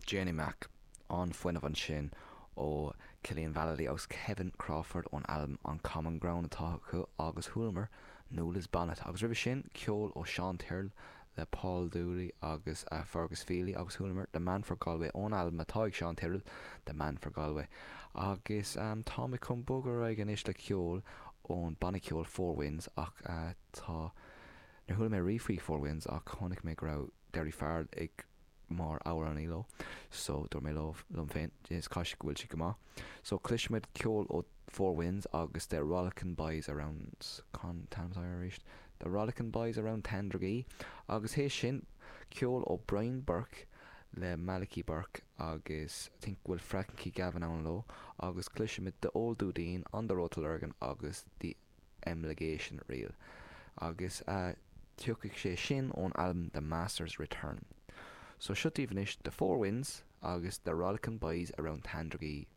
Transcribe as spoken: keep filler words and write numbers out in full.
Jenny Mac an-fhuinneamh ansin ó Cillian Vallely agus Kevin Crawford ón albam On Common Ground atá acu agus chualamar Nuala's Bonnet agus roimhe sin ceol ó Sean Tyrrell le Paul Dooley agus uh, Fergus Feely agus chualamar The Man for Galway ón albam atá ag Sean Tyrrell The Man for Galway agus um, tá mé chun bogadh ar aghaidh anois le ceol ón banna ceoil Four Winds ach uh, tá Níor chuala mé riamh faoi Four Winds ach chonaic mé go raibh Derry Farrell ag mar amhránaí leo so dúirt mé liom féin is cosúil go bhfuil sé go maith. So cloisfimid ceol ó Four Winds agus The Rollickin' Boys Around con arís. The Rollickin' Boys Around Tandragee agus théis sin ceol ó Brian Burke le Malachy Burke agus think bhfuil Frankie Gavin ann leo agus cloisfimid The Old Dudeen on the Road to Lurgan agus the Emigration Reel. Agus uh, tiocfaidh sé sin ón albam The Master's Return. So seo daoibh anois The Four Winds agus The Rollickin' Boys Around Tandragee.